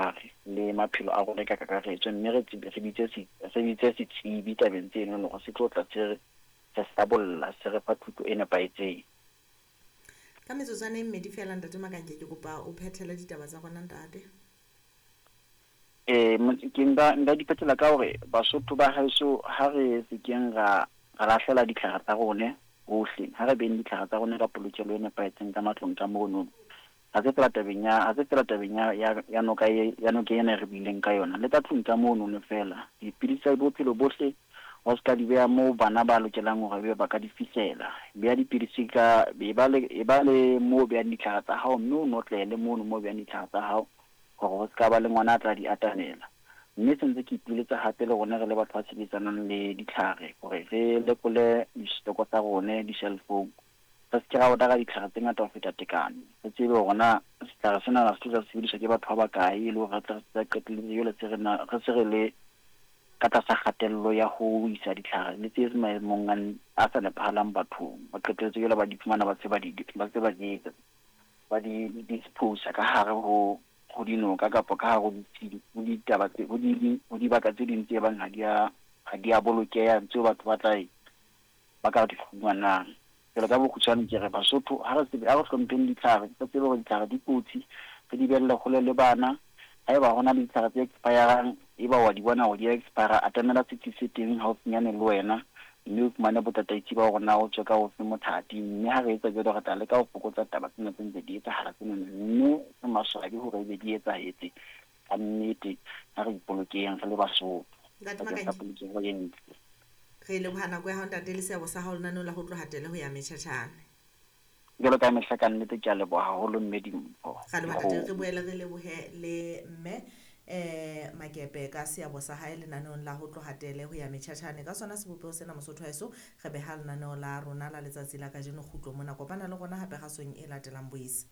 ditlhare le maphelo a rona ka kakaretso, mme re tsebe, re bitse setsebi tabeng tseno hore se tlo tla se re hlabolla, se re fa thuto e nepahetseng. Ka metsotswana e mmedi feela, Ntate Makanke, ke kopa o phethele ditaba tsa rona, ntate. Ke nka di phethela ka hore Basotho ba heso, ha re se keng ra lahlela ditlhare tsa rone hohle. Ha re beng ditlhare tsa rone ka polokelo e nepahetseng ka matlong ka mono. Ha se fela tabeng ya noka e, ya noka ena e re buileng ka yona, le ka tlung ka mono no fela. Dipidisi tsa bophelo bohle wa se ka di beha moo bana ba lokelang hore ebe ba ka di fihlela. Beha dipidisi ka e ba le moo behang ditlhare tsa hao, mme o notlele mono moo behang ditlhare tsa hao hore ho se ka ba le ngwana a tla di atamela. Mme sentse ke ipiletsa hape le rone re le batho ba sebetsanang le ditlhare hore re lekole di-stock tsa rone di-shelf-ong, re se ke ra order-a ditlhare tse ngata ho feta tekano. Re tsebe hore na setlhare sena se tlo sebediswa ke batho ba bakae, e le hore re tle re se qetelletse jwale se re na re se re le ka tlasa kgatello ya ho isa ditlhare le tse maemong a sa nepahalang bathong. Ba qetelletse jwale ba di fumana, ba se ba di etsa, ba di dispose ka hare ho dinoka kapa ka hare ho ditaba tse ho dibaka tse ding tse bang ha di a bolokeha, tseo batho ba tla ba ka di fumanang. Jwale ka bokgutshwane ke re, Basotho, ha re tsebe, ha re hlompheng ditlhare, re tsebe hore ditlhare di kotsi, re di behelle hole le bana. Haeba hona le ditlhare tse expirang, eba wa di bona hore di a expire, atamela setsi se teng haufinyane le wena, mme o fumane botataisi ba hore na o tswe ka ofe mothati. Mme ha re etsa jwalo, re tla leka ho fokotsa taba tsena tse ntse di etsahala tsena, mme re maswabi hore ebe di etsahetse. Ka nnete, ha re ipolokeng re le Basotho Ntate bakeng sa Makanke, polokeho e ntle. Re leboha nako ya hao, ntate, le seabo sa hao lenaneong la ho tloha tele ho ya metjhatjhane. Jwalo ka mehla, ka nnete ke a leboha haholo, mme Dimpho. Ra leboha, ntate. Re boele re lebohe le mme Makepe ka seabo sa hae lenaneong la ho tloha tele ho ya metjhatjhane. Ka sona sebopeho sena, Mosotho wa heso, re beha lenaneo la rona la letsatsi la kajeno kgutlo mona. Kopana le rona hape kgasong e latelang. Boise.